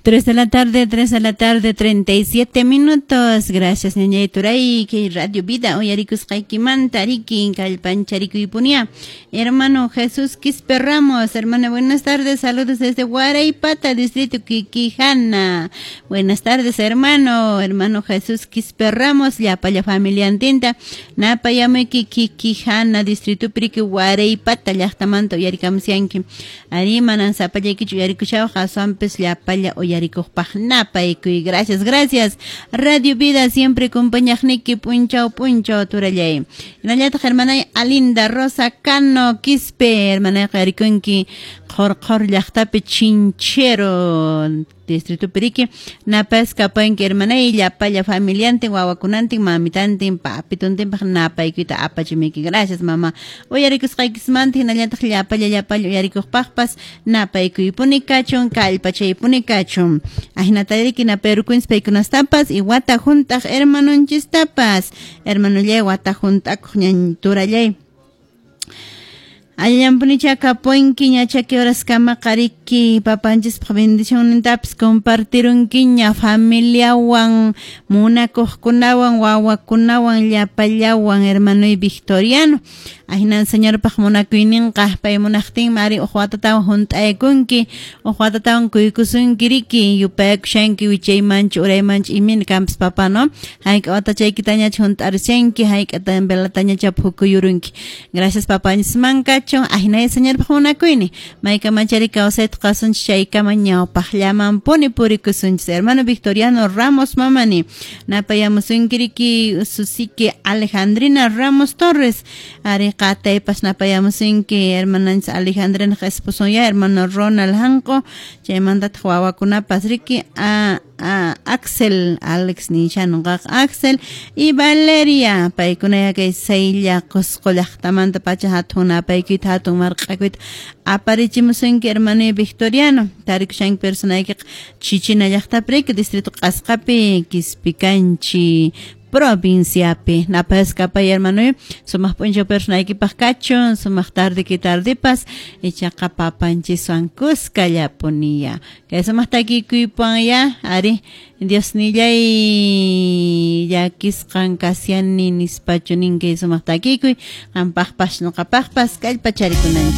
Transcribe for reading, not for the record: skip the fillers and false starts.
3 de la tarde, 3 de la tarde, 37 minutos. Gracias, ñañay turay, que Radio Vida, uyarikusqaykimanta, riki, kallpancharikuypunia. Hermano Jesús Quispe Ramos, hermano, buenas tardes, saludos desde Guaraypata, distrito Quiquijana. Buenas tardes, hermano, hermano Jesús Quispe Ramos, llapalla familiantinta, napayamuyki Quiquijana, distrito Priqui, Guaraypata, llaqtamanta uyarikamusyanki. Ari, manan sapallaykichu uyarikushawaq, aswanpis llapalla uyarikuqpaq napaykuy. Gracias, gracias. Radio Vida siempre compañaqniki p'unchaw p'unchaw turallay. Hinallataq hermanay Alinda Rosa Cano Quispe, hermanayqa uyarikunki Qhor Qhor llaqtapi Chinchero distrito Periqui, napasqa kapanki hermanay llapalla familiantin wawakunantin mamitantin papituntinpaq napaykuyta apachimuyki. Gracias, mama. Uyarikusqaykismanta hinallataq llapalla llapalla uyarikuqpaqpas napaykuypuni kachun, kallpachaypuni kachun. Ahinata riki naperukunchis paykunastapas y wata hunt'aq hermanonchistapas. Hermanollay wata hunt'akuq ñan turallay. Allanpunicha kapunki ña chaki horaskamaqa riki papanchispaq bendicionnintapas compartirunkiña familiawan, munakuqkunawan, wawakunawan, llapallawan, hermanoy Victoriano. Ahinan Señorpaq munakuyninqa pay munaqtinmi ari uq watatawan hunt'aykunki, uq watatawan kuykusunki riki, yupayakushanki wichaymanchu uraymanchu imayna kanpas papá, no? Hayk'a watachaykitañachu hunt'arishanki, hayk'ata velatañacha phukuyurunki. Gracias papanchisman kachun, ahinay Señorpaq munakuynin. Maykamachari kawsayta qasunchis chaykama ñawpaqllamanpuni purikusunchis. Hermano Victoriano Ramos Mamani, napayamusunki riki ususiki Alejandrina Ramos Torres, ari qataypas napayamusunki hermananchis Alejandrina esposo ya hermano Ronald Hanco, chaymantataq wawakunapas riki a Axel, Alex nisha nuqaqa Axel y Valeria, paykuna kay Saylla Qusqu llaqtamanta pacha hatun napaykuyta hatun marq'akuyta aparichimusunki hermano Victoriano, tarikushanki personaykiqa Chichina llaqtapi riki distrito Q'asqapi Quispicanchi provinciapi. Napasqa pay hermano sumaq p'unchaw personaykipaq kachun, sumaq tardeki tardipas, ichaqa papanchiswan kuskallapuniya. Kay sumaq takikuypuwan ya, ari Diosnillay llakisqan kashani nispachu nin kay sumaq takikuy, qampaqpas ñuqapaqpas kallpacharikunanchik.